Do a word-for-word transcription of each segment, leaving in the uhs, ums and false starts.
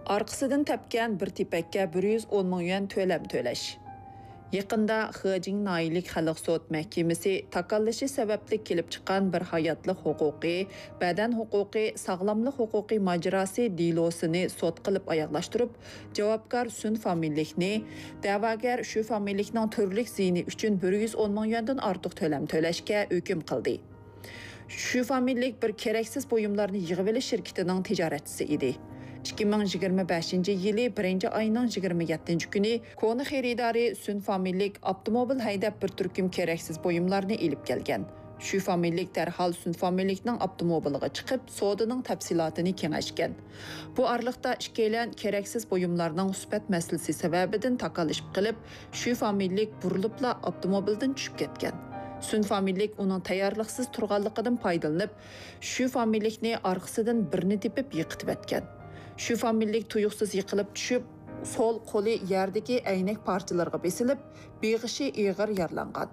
ئارقىسىدىن تەپكەن بىر تېپەككە بىر يۈز ئون مىڭ يۈەن تۆلەم تۆلەش. يېقىندا خېجىڭ ناھىيەلىك خەلق سوت مەھكىمىسى تاكاللىشى سەۋەبلىك كېلىپ چىققان بىر ھاياتلىق ھوقۇقى، بەدەن ھوقۇقى، ساغلاملىق ھوقۇقى ماجىراسى دېلوسىنى سوت قىلىپ ئاياغلاشتۇرۇپ، جاۋابكار سۈن فامىلىلىكنى، دەۋاگەر شۈ فامىلىلىكنىڭ تۈرلۈك زىيىنى ئۈچۈن بىر يۈز ئون مىڭ يۈەندىن ئارتۇق تۆلەم تۆلەشكە ھۆكۈم قىلدى. شۈ فامىلىلىك بىر كېرەكسىز بۇيۇملارنى يىغىۋېلىش شىركىتىنىڭ تىجارەتچىسى ئىدى. ئىككى مىڭ يىگىرمە بەشىنچى يىلى بىرىنچى ئاينىڭ يىگىرمە يەتتىنچى كۈنى كونا خېرىدارى سۈن فامىلىلىك ئاپتوموبىل ھەيدەپ بىر تۈركۈم كېرەكسىز بۇيۇملارنى ئېلىپ كەلگەن. شۈ فامىلىلىك دەرھال سۈن فامىلىلىكنىڭ ئاپتوموبىلىغا چىقىپ، سودىنىڭ تەپسىلاتىنى كېڭەشكەن. بۇ ئارىلىقتا ئىككىيلەن كېرەكسىز بۇيۇملارنىڭ سۈپەت مەسىلىسى سەۋەبىدىن تاكاللىشىپ قېلىپ، شۈ فامىلىلىك بۇرۇلۇپلا ئاپتوموبىلدىن چۈشۈپ كەتكەن. سۈن فامىلىلىك ئۇنىڭ تەييارلىقسىز تۇرغانلىقىدىن پايدىلىنىپ، شۈ فامىلىلىكنى ئارقىسىدىن بىرنى تېپىپ يىقىتىۋەتكەن. شۈ فامىلىلىك تۇيۇقسىز يىقىلىپ چۈشۈپ، سول قولى يەردىكى ئەينەك پارچىلىرىغا بېسىلىپ، بېغىشى ئېغىر يارىلانغان.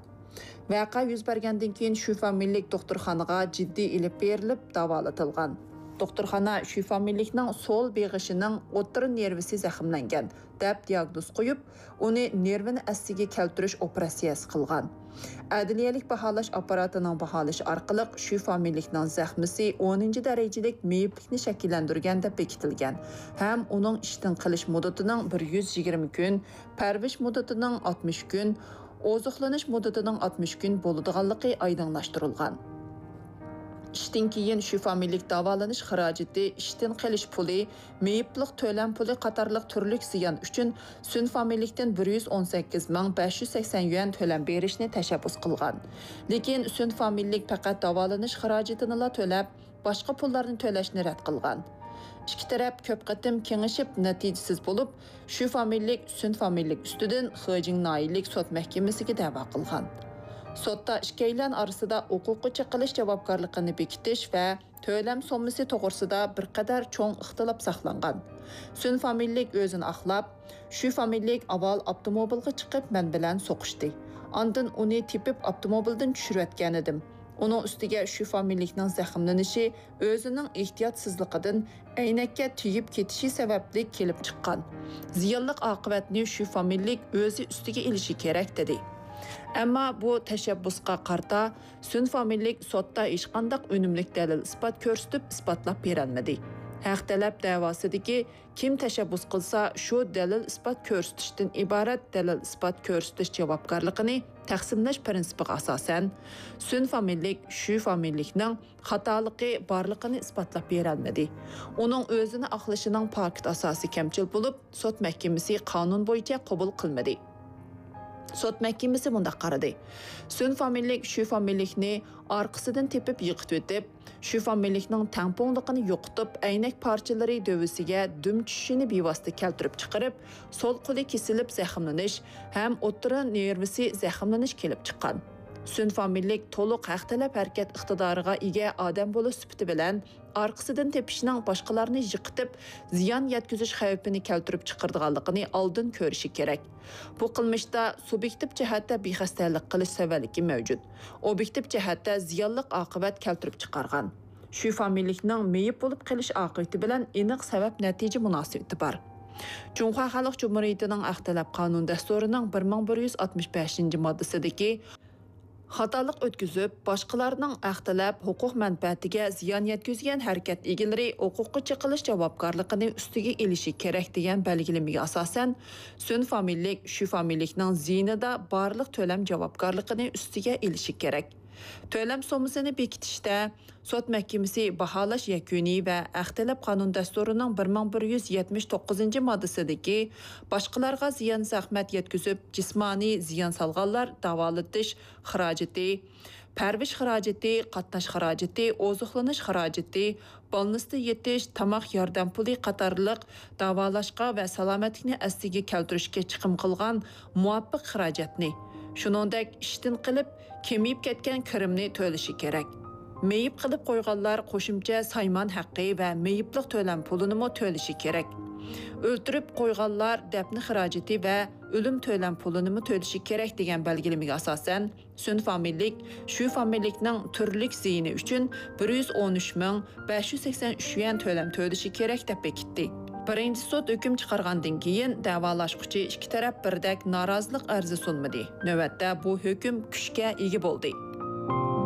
ۋەقە يۈز بەرگەندىن كېيىن شۈ فامىلىلىك دوختۇرخانىغا جىددىي ئېلىپ بېرىلىپ داۋالىتىلغان. دوختۇرخانا شۈ فامىلىلىكنىڭ سول بېغىشىنىڭ ئوتتۇرا نېرۋىسى زەخىملەنگەن، دەپ دىياگنوز قويۇپ، ئۇنى نېرۋىنى ئەسلىگە كەلتۈرۈش ئوپېراتسىيەسى قىلغان. ئەدلىيەلىك باھالاش ئاپپاراتىنىڭ باھالىشى ئارقىلىق شۈ فامىلىلىكنىڭ زەخمىسى ئونىنچى دەرىجىلىك مېيىپلىكنى شەكىللەندۈرگەن دەپ بېكىتىلگەن ھەم ئۇنىڭ ئىشتىن قېلىش مۇددىتىنىڭ بىر يۈز يىگىرمە كۈن، پەرۋىش مۇددىتىنىڭ ئاتمىش كۈن، ئوزۇقلىنىش مۇددىتىنىڭ ئاتمىش كۈن بولىدىغانلىقى ئايدىڭلاشتۇرۇلغان. ئىشتىن كېيىن شۈ فامىلىلىك داۋالىنىش خىراجىتى، ئىشتىن قېلىش پۇلى، مېيىپلىق تۆلەم پۇلى قاتارلىق تۈرلۈك زىيان ئۈچۈن سۈن فامىلىلىكتىن بىر يۈز ئون سەككىز مىڭ بەش يۈز سەكسەن يۈەن تۆلەم بېرىشنى تەشەببۇس قىلغان. لېكىن سۈن فامىلىلىك پەقەت داۋالىنىش خىراجىتىنىلا تۆلەپ، باشقا پۇللارنى تۆلەشنى رەت قىلغان. ئىككى تەرەپ كۆپ قېتىم كېڭىشىپ، نەتىجىسىز بولۇپ، شۈ فامىلىلىك سۈن فامىلىلىك ئۈستىدىن خېجىڭ ناھىيەلىك سوت مەھكىمىسىگە دەۋا قىلغان. سوتتا ئىككىيلەن ئارىسىدا ھوقۇققا چېقىلىش جاۋابكارلىقىنى بېكىتىش ۋە تۆلەم سوممىسى توغرىسىدا بىر قەدەر چوڭ ئىختىلاپ ساقلانغان. سۈن فامىلىلىك ئۆزىنى ئاقلاپ، شۈ فامىلىلىك ئاۋۋال ئاپتوموبىلغا چىقىپ مەن بىلەن سوقۇشتى. ئاندىن ئۇنى تېپىپ ئاپتوموبىلدىن چۈشۈرۈۋەتكەنىدىم. ئۇنىڭ ئۈستىگە شۈ فامىلىلىكنىڭ زەخىملىنىشى ئۆزىنىڭ ئېھتىياتسىزلىقىدىن ئەينەككە تېگىپ كېتىشى سەۋەبلىك كېلىپ چىققان. زىيانلىق ئاقىۋەتنى شۈ فامىلىلىك ئۆزى ئۈستىگە ئېلىشى كېرەك، دېدى. ئەمما بۇ تەشەببۇسقا قارىتا سۈن فامىلىلىك سوتتا ھېچقانداق ئۈنۈملۈك دەلىل-ئىسپات كۆرسىتىپ ئىسپاتلاپ بېرەلمىدى. ھەق تەلەپ دەۋاسىدىكى كىم تەشەببۇس قىلسا، شۇ دەلىل-ئىسپات كۆرسىتىشتىن ئىبارەت دەلىل-ئىسپات كۆرسىتىش جاۋابكارلىقىنى تەقسىملەش پىرىنسىپىغا ئاساسەن، سۈن فامىلىلىك شۈ فامىلىلىكنىڭ خاتالىقى بارلىقىنى ئىسپاتلاپ بېرەلمىدى. ئۇنىڭ ئۆزىنى ئاقلىشىنىڭ پاكىت ئاساسى كەمچىل بولۇپ، سوت مەھكىمىسى قانۇن بويىچە قوبۇل قىلمىدى. سوت مەھكىمىسى مۇنداق قارىدى: سۈن فامىلىلىك شۈ فامىلىلىكنى ئارقىسىدىن تېپىپ يىقىتىۋېتىپ، شۈ فامىلىلىكنىڭ تەڭپۇڭلۇقىنى يوقىتىپ، ئەينەك پارچىلىرى دۆۋىسىگە دۈم چۈشۈشىنى بىۋاسىتە كەلتۈرۈپ چىقىرىپ، سول قولى كېسىلىپ زەخىملىنىش ھەم ئوتتۇرا نېرۋىسى زەخىملىنىش كېلىپ چىققان. سۈن فامىلىلىك تولۇق ھەق تەلەپ ھەرىكەت ئىقتىدارىغا ئىگە ئادەم بولۇش سۈپىتى بىلەن، ئارقىسىدىن تېپىشنىڭ باشقىلارنى يىقىتىپ، زىيان يەتكۈزۈش خەۋپىنى كەلتۈرۈپ چىقىرىدىغانلىقىنى ئالدىن كۆرۈشى كېرەك. بۇ قىلمىشتا سۇبيېكتىپ جەھەتتە بىخەستەلىك قىلىش سەۋەنلىكى مەۋجۇت. ئوبيېكتىپ جەھەتتە زىيانلىق ئاقىۋەت كەلتۈرۈپ چىقارغان. شۈ فامىلىلىكنىڭ مېيىپ بولۇپ قېلىش ئاقىۋىتى بىلەن ئېنىق سەۋەب نەتىجە مۇناسىۋىتى بار. جۇڭخۇا خەلق جۇمھۇرىيىتىنىڭ ھەق تەلەپ قانۇن دەستۇرىنىڭ بىر مىڭ بىر يۈز ئاتمىش بەشىنچى ماددىسىدىكى خاتالىق ئۆتكۈزۈپ، باشقىلارنىڭ ھەق تەلەپ ھوقۇق مەنپەئەتىگە زىيان يەتكۈزگەن ھەرىكەت ئىگىلىرى ھوقۇققا چېقىلىش جاۋابكارلىقىنى ئۈستىگە ئېلىشى كېرەك دېگەن بەلگىلىمىگە ئاساسەن، سۈن فامىلىلىك شۈ فامىلىلىكنىڭ زىيىنىدا بارلىق تۆلەم جاۋابكارلىقىنى ئۈستىگە ئېلىشى كېرەك. تۆلەم سوممىسىنى بېكىتىشتە سوت مەھكىمىسى باھالاش يەكۈنى ۋە ھەق تەلەپ قانۇن دەستۇرىنىڭ بىر مىڭ بىر يۈز يەتمىش توققۇزىنچى ماددىسىدىكى باشقىلارغا زىيان زەخمەت يەتكۈزۈپ، جىسمانىي زىيان سالغانلار داۋالىتىش خىراجىتى، پەرۋىش خىراجىتى، قاتناش خىراجىتى، ئوزۇقلىنىش خىراجىتى، بالنىستا يېتىش، تاماق ياردەم پۇلى قاتارلىق داۋالاشقا ۋە سالامەتلىكنى ئەسلىگە كەلتۈرۈشكە چىقىم قىلغان مۇۋاپىق خىراجەتنى، شۇنىڭدەك ئىشتىن قېلىپ، كېمىيىپ كەتكەن كىرىمنى تۆلىشى كېرەك. مېيىپ قىلىپ قويغانلار قوشۇمچە سايمان ھەققى ۋە مېيىپلىق تۆلەم پۇلىنىمۇ تۆلىشى كېرەك. ئۆلتۈرۈپ قويغانلار دەپنە خىراجىتى ۋە ئۆلۈم تۆلەم پۇلىنىمۇ تۆلىشى كېرەك دېگەن بەلگىلىمىگە ئاساسەن، سۈن فامىلىلىك شۈ فامىلىلىكنىڭ تۈرلۈك زىيىنى ئۈچۈن بىر يۈز ئون ئۈچ مىڭ بەش يۈز سەكسەن ئۈچ يۈەن تۆلەم تۆلىشى كېرەك دەپ بېكىتتى. بىرىنچى سوت ھۆكۈم چىقارغاندىن كېيىن، دەۋالاشقۇچى ئىككى تەرەپ بىردەك نارازىلىق ئەرزى سۇنمىدى. نۆۋەتتە بۇ ھۆكۈم كۈچكە ئىگە بولدى.